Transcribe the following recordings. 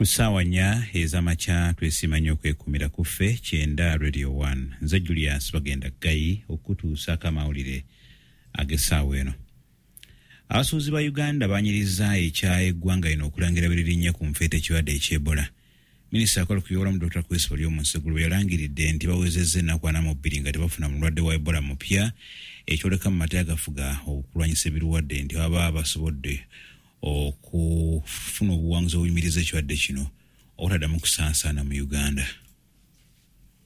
Ku ssaawa 4 ez'amakya twesiima nnyo okwekumira ku ffe 90 Radio 1. Nze Julius Bagenda Ggayi okutuusaako amawulire ag'essaawa eno. Abasuubuzi ba Uganda baanyirizza ekya eggwanga lino okulangira bwe lirinnya ku nfeete ekirwadde eky'Ebola. Minisita akola ku byobulamu Dr. Chris Baryomunsi eggulo bwe yalangiridde nti bawezezza ennaku 42 nga tebafuna mulwadde wa Ebola mupya, ekyoleka mu mateeka agafuga okulwanyisa ebirwadde nti baba basobodde okufuna obuwanguzi obuyimiriza ekirwadde kino obutaddamu kusaasaana mu Uganda.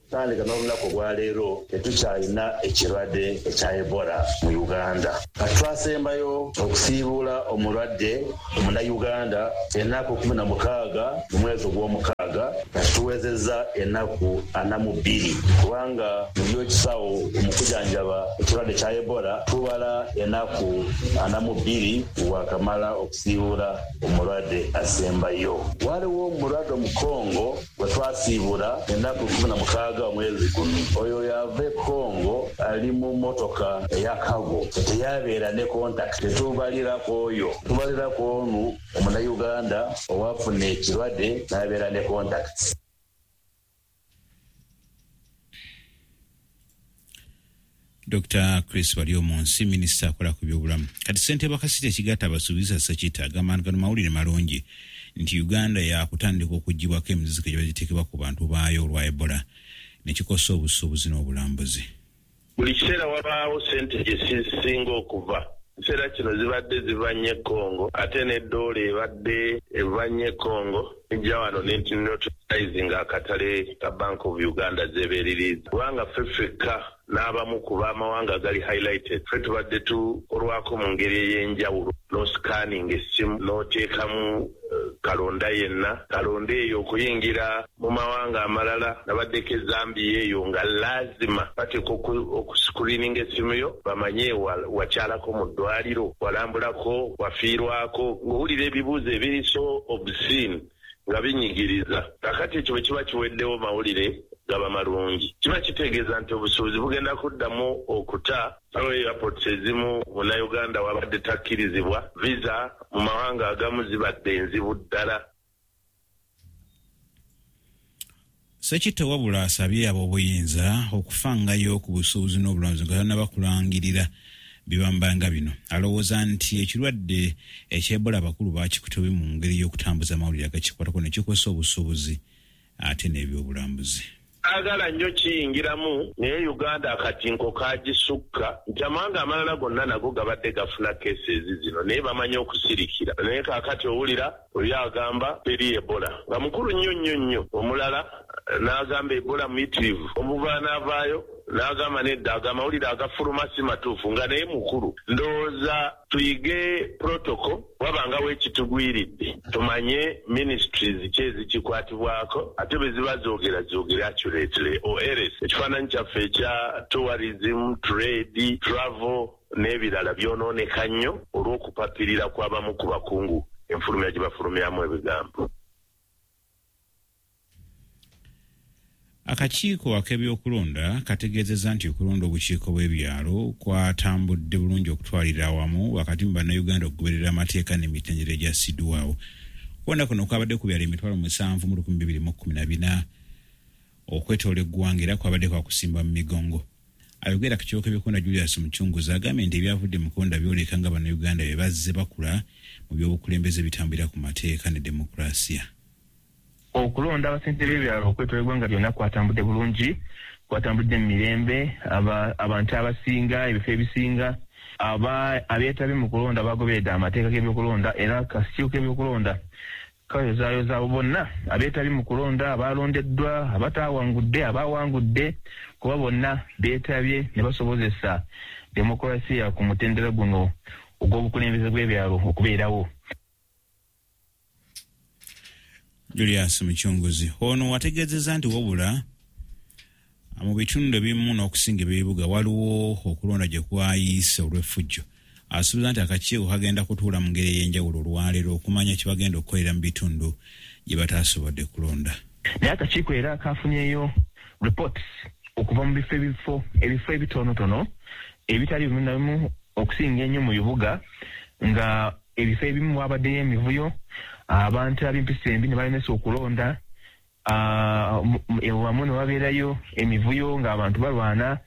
Tandika n'olunaku olwaleero tetukyalina ekirwadde ekya Ebola mu Uganda. Kati twasembayo okusiibuula omulwadde omunnayuganda ennaku 16 mu mwezi ogw'omukaaga, kati tuwezezza ennaku 42, kubanga mu by'ekisawo mu kujanjaba ekirwadde kya Ebola tubala ennaku 42 wakamala okusiibuula omulwadde asembayo. Waliwo omulwadde omukongo gwe twasiibula ennaku 16 omwezi guno. Oyo yava e Congo ali mu mmotoka eya cargo, teyabeera ne contact. Tetubalirako oyo, tubalirako onu omunnayuganda owafuna ekirwadde n'abeera ne contacts. Dr. Chris Baryomunsi, minisita akola ku byobulamu. Kati ssentebe wa Kasita ekigatta abasuubuzi Ssekita agamba nti gano mawulire malungi nti Uganda yakutandika okuggyibwako emiziziko egiba giteekebwa ku bantu baayo olwa Ebola ne kikosa obusuubuzi n'obulambuzi. Buli kiseera wabaawo ssente gye zisinga okuva. Ekiseera kino zibadde ziva nnyo e Congo, ate ne ddoola ebadde eva nnyo e Congo ejja wano ne neutralizinga akatale ka Bank of Uganda z'ebeeririiza, kubanga ffe ffekka n'abamu ku b'amawanga agali highlighted ffe tubadde tukolwako mu ngeri ey'enjawulo. N'oscanninga essimu n'oteekamu kalonda yenna, kalonda eyo okuyingira mu mawanga amalala. Nabaddeko e Zambia eyo nga laazima bateeka okuscreeninga essimu yo bamanye wakyalako mu ddwaliro, walambulako, wafiirwako, ng'owulira ebibuuzo ebiri so obscene nga binyigiriza. Kakati ekyo bwe kiba kiweddewo, mawulire gaba malungi, kiba kitegeeza nti obusuubuzi bugenda kuddamu okuta. Waliwo airports ezimu munnayuganda wabadde takkirizibwa, visa mu mawanga agamu zibadde enzibu ddala. Ssekitto wabula asabye ab'obuyinza okufangayo ku busuubuzi n'obulambuzi nga tannaba kulangirira bibambanga bino. Alowooza nti ekirwadde eky'Ebola abakulu bakikutte mu ngeri y'okutambuza amawulire agakikwatako ne kikosa obusuubuzi ate n'ebyobulambuzi. Agala nnyo kiyingiramu, naye Uganda akatinko kagisukka nti amawanga amalala gonna nago gabadde gafuna cases zino, naye bamanyi okusirikira. Naye kaakati owulira oli agamba teri Ebola nga mukulu nnyo nnyo nnyo, omulala n'agamba Ebola muyitirivu, omuva n'avaayo n'agamba nedda, ago amawulire agafuluma si matuufu, nga naye mukulu. Ndowooza tuyige protocol, wabangawo ekitugwiridde tumanye ministries ki ezikikwatibwako, ate bwe ziba zoogera zoogere accurately, or else ekifaananyi kyaffe ekya tourism, trade, travel n'ebirala byonooneka nnyo olw'okupapirira kw'abamu ku bakungu enfulumya gye bafulumyamu ebigambo. Akakiiko ak'ebyokulonda kategeezezza nti okulonda obukiiko bw'ebyalo kwatambudde bulungi okutwalira awamu, wakati mu bannayuganda okugoberera amateeka n'emitendera egyassiddwawo. Okulonda kuno kwabadde ku byalo 7,214 okwetoola eggwanga, era kwabadde kwakusimba mu migongo. Ayogera ku kiiko ky'ebyokulonda Julius Mucunguzi agambye nti ebyavudde mu kulonda byoleka nga bannayuganda bye bazze bakula mu by'obukulembeze bitambulira ku mateeka ne demokulasiya. Okulonda abasente b'ebyalo okwetoola eggwanga lyonna kwatambudde bulungi, kwatambudde mu mirembe. Abantu abasinga, ebifo ebisinga, abeetabye mu kulonda bagoberedde amateeka g'ebyokulonda, era akakiiko k'ebyokulonda kayozaayoza abo bonna abeetabye mu kulonda, abalondeddwa, abataawangudde, abawangudde, kuba bonna beetabye ne basobozesa demokulasiya ku mutendera guno ogw'obukulembeze bw'ebyalo okubeerawo. Julius Mucunguzi ono wategeezezza nti wabula mu bitundu ebimu n'okusinga eby'ebibuga waliwo okulonda gye kwayiise olw'effujjo. Asuubiza nti akakiiko kagenda kutuula mu ngeri ey'enjawulo olwaleero okumanya kye bagenda okukolera mu bitundu gye bataasobodde kulonda. Naye akakiiko era kafunyeyo reports okuva mu bifo ebifo ebitonotono ebitali bimu na bimu, okusinga ennyo mu bibuga, nga ebifo ebimu wabaddeyo emivuyo. Abantu ab'empisa embi ne balemesa okulonda, wamu ne wabeerayo emivuyo ng'abantu balwana.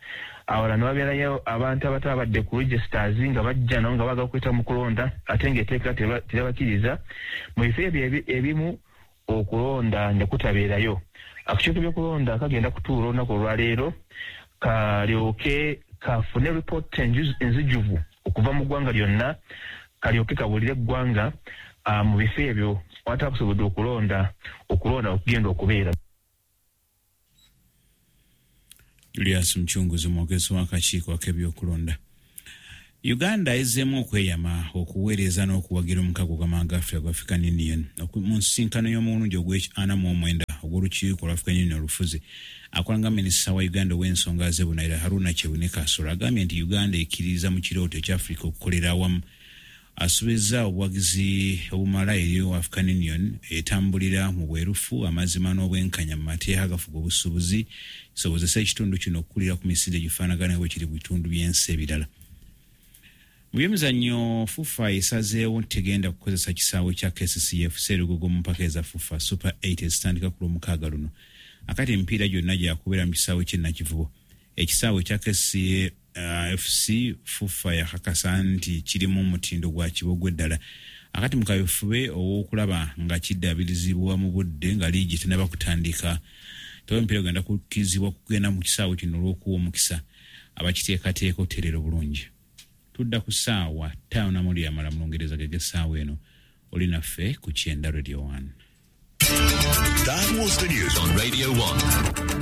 Awalala ne wabeerayo abantu abatabadde ku registers nga bajja nabo nga baagala okweta mu kulonda ate ng'etteeka teribakiriza. Mu bifo ebyo ebimu okulonda ne kutabeerayo. Akakiiko k'ebyokulonda kagenda kutuula olunaku olwaleero kalyoke kafune ripooti enzijuvu okuva mu ggwanga lyonna, kalyoke kabulire eggwanga mu bifo ebyo awatakusobodde okulonda okugenda okubeera. Julius Mchunguzi, mwogezi w'akakiiko ak'ebyokulonda. Uganda ezzeemu okweyama okuweereza n'okuwagira omukago gw'amawanga Africa gwa African Union mu nsisinkano y'omulundi ogw'e49 ogw'olukiiko lwa African Union olufuzi. Akola nga minisita wa Uganda ow'ensonga z'ebunaayira Haruna Kyewune Kasolo agambye nti Uganda ekkiririza mu kirooto ekya Africa okukolera awamu. Asuubizza obuwagizi obumala eri African Union etambulira mu bwerufu, amazima n'obwenkanya mu mateeka agafuga obusuubuzi, kisobozese ekitundu kino okukulira ku misinde egifaanagana bwe kiri mu bitundu by'ensi ebirala. Mu byemizannyo, FUFA esazeewo tegenda kukozesa kisaawe kya KCCF Serugogo mu mpaka eza FUFA Super 8 ezitandika ku Lwomukaaga luno. Akati emipiira gyonna gyakubeera mu kisaawe ky'e Nakivubo. Ekisaawe kya KCCA FC FUFA yakakasa nti kirimu omutindo gwa kibogwe ddala. Akati mu kaweefube ow'okulaba nga kiddaabirizibwa mu budde nga liigi tennaba kutandika, tewali omupiira gugenda kukkirizibwa kugenda mu kisaawe kino olw'okuwa omukisa abakiteekateeka okutereera obulungi. Tudda ku ssaawa 5 namuli amala mu Lungereza gege essaawa eno. Oli naffe ku Kyenda, Radio 1. That was the news on Radio 1.